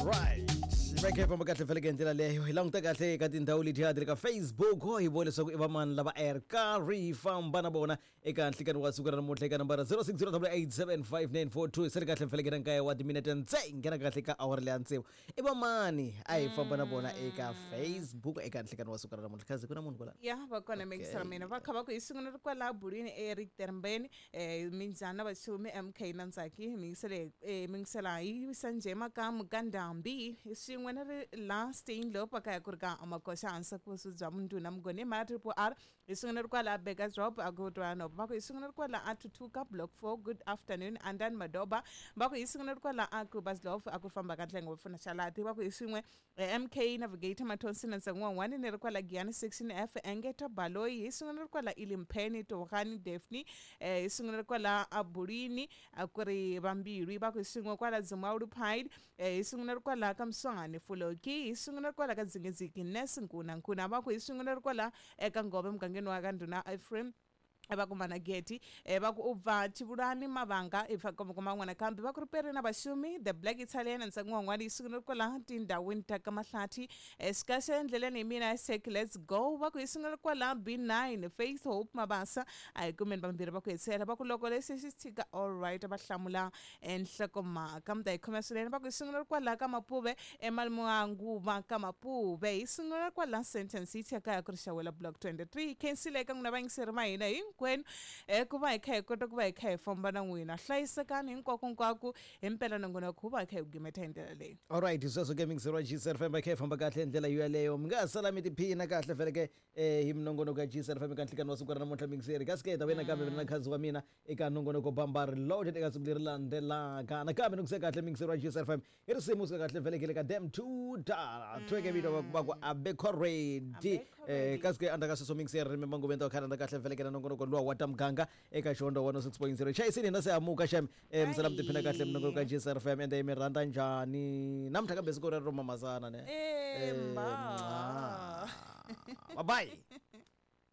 Alright, va kha hi famba kahle feleke hi ndlela leyo. Hi languta kahle eka tindhawu letiya ti ri ka Facebook, hi vona leswaku i vamani lava a hi ri karhi hi famba na vona eka nhlikani wa siku ra namuntlha eka nambara 0608875942. Se ri kahle feleke na nkaye wa timinete ntse nghena kahle ka awara leya tsevu. I vamani a hi famba na vona eka Facebook eka nhlikani wa siku ra namuntlha? Khazi, ku na munhu kwalano? Ya, va kona mixer mina. Va kha va ku hi sungula ri kwala bulwini eRichtermbeni, minjhani na vachumi MK na Ntsaki? Mi yingisela hi Sanjay Makamu ka Ndhambi swin'we na ri la Steinlop va kaya ku ri ka Makoxa hansi ku bya Munduna Mugoni ma Triple R. Hi swin'we na ri kwala Burgersdorp a ku twa va ku hi swin'we na ri kwala a Thuthuka Block 4. Good afternoon Andan Madoba. Va ku hi swin'we na ri kwala a Krugersdorp a ku famba ka nhlengo va pfuna xalati. Va ku hi swin'we MK Navigator Mathonsi na Ntsengo wan'wani ni ri kwala Giyani Section F Engeta Baloyi. Hi swin'we na ri kwala Ilimpheni Togani Daphne. Hi swin'we na ri kwala Abulwini a ku ri Vambilwi. Va ku hi swin'we kwala Dzimawulu Pine. Hi swin'we na ri kwala ka Mswani Fuloki. Hi swin'we na ri kwala ka Dzingedziki Nes Nkuna Nkuna. Va ku hi swin'we na ri kwala eka Ngove mugangeni wa ka Ndhuna Ephraim va ku Manageti. Va ku u bva Chivulani Mavanga i fa kuma n'wana kambe. Va ku ri peri na vaxumi the Black Italian ntsengo wan'wana yi sungule kwala tindhawini ta ka Mahlathi. Xikaxe endleleni hi mina Sek, let's go. Va ku yi sungule kwala B9 Faith Hope Mabasa. A hi kumeni vambirhi va ku hetsela. Va ku loko lexi xi tshika, all right, va hlamula nhlokomhaka mi ta yi khoma swinene. Va ku yi sungule kwala ka Mapuve emalumanguva ka Mapuve. Hi sungula kwala Sentence City kaya ku ri Xawela Block 23. Khensile eka n'wina vayingiseri va hina hinkwenu, ku va hi kha hi kota ku va hi kha hi famba na n'wina. Hlayisekani hinkwako hinkwako. Hi mpela nongonoko wu va hi kha hi gimeta hi ndlela leyi. Alright, sweswo ke mixer wa GCR FM, kha hi famba kahle hi ndlela yoyaleyo. Mi nga ha sala mi tiphina kahle feleke hi minongonoko ya GCR FM eka nhlikani wa siku ra namuntlha. Mixeri kasi ke hi ta vuya nakambe mina na khazi wa mina eka nongonoko Bambari Loaded eka siku leri landzelaka. Nakambe ni ku se kahle mixeri wa GCR FM hi risimu suka kahle velekele ka dem two dala tweke vito va ku abekho ready. Kasi ke andzhaku ka sweswo mixeri ri manguveni ta khana kahle velekela nongonoko luwa wa ta muganga eka Xihondzo 106.0. Chayisini hina se amuka xem. Misala mi tiphina kahle minongonoko ya GCR FM. Ende mi rhandza njhani namuntlha kambe siku rero ro mamazana ne? Mba. Bye bye.